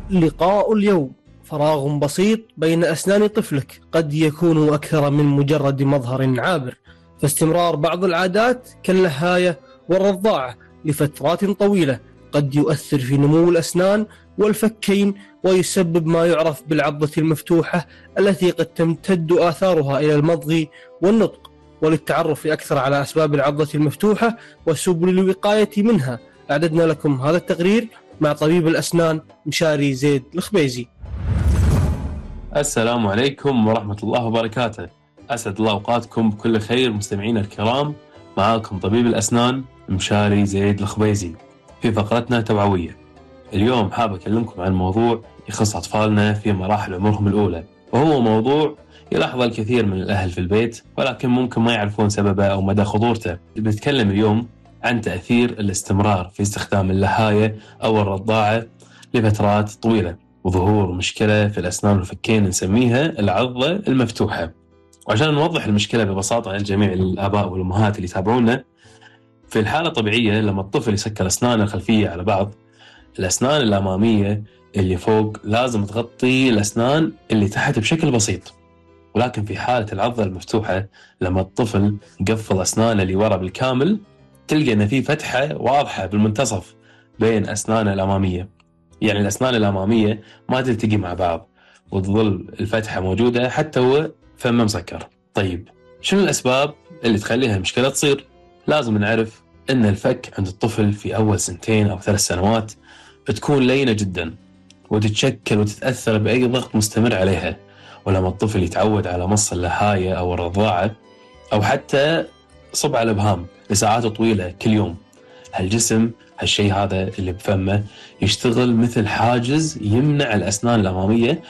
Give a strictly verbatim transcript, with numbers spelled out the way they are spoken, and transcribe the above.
لقاء اليوم. فراغ بسيط بين أسنان طفلك قد يكون أكثر من مجرد مظهر عابر، فاستمرار بعض العادات كاللهاية والرضاعة لفترات طويلة قد يؤثر في نمو الأسنان والفكين، ويسبب ما يعرف بالعضة المفتوحة التي قد تمتد آثارها إلى المضغ والنطق. وللتعرف أكثر على أسباب العضة المفتوحة وسبل الوقاية منها، أعددنا لكم هذا التقرير مع طبيب الأسنان مشاري زيد الخبيزي. السلام عليكم ورحمة الله وبركاته. أسعد الله أوقاتكم بكل خير مستمعينا الكرام. معاكم طبيب الأسنان مشاري زيد الخبيزي في فقرتنا توعوية. اليوم حاب أكلمكم عن موضوع يخص أطفالنا في مراحل عمرهم الأولى، وهو موضوع يلاحظ الكثير من الأهل في البيت ولكن ممكن ما يعرفون سببه أو مدى خطورته. بنتكلم اليوم عن تأثير الاستمرار في استخدام اللهاية أو الرضاعة لفترات طويلة، وظهور مشكلة في الأسنان والفكين نسميها العضة المفتوحة. وعشان نوضح المشكلة ببساطة لجميع الآباء والأمهات اللي يتابعونا، في الحالة الطبيعية لما الطفل يسكر أسنانه الخلفية على بعض، الأسنان الأمامية اللي فوق لازم تغطي الأسنان اللي تحت بشكل بسيط. ولكن في حالة العضة المفتوحة لما الطفل يقفل أسنانه اللي ورا بالكامل، تلقى أن في فتحة واضحة بالمنتصف بين أسنانه الأمامية، يعني الأسنان الأمامية ما تلتقي مع بعض وتظل الفتحة موجودة حتى هو فمه مسكر. طيب شنو الأسباب اللي تخليها المشكلة تصير؟ لازم نعرف أن الفك عند الطفل في أول سنتين أو ثلاث سنوات بتكون لينة جدا وتتشكل وتتأثر بأي ضغط مستمر عليها. ولما الطفل يتعود على مص اللهاية أو الرضاعة أو حتى صبع الإبهام لساعات طويلة كل يوم، هالجسم هالشيء هذا اللي بفمه يشتغل مثل حاجز يمنع الأسنان الأمامية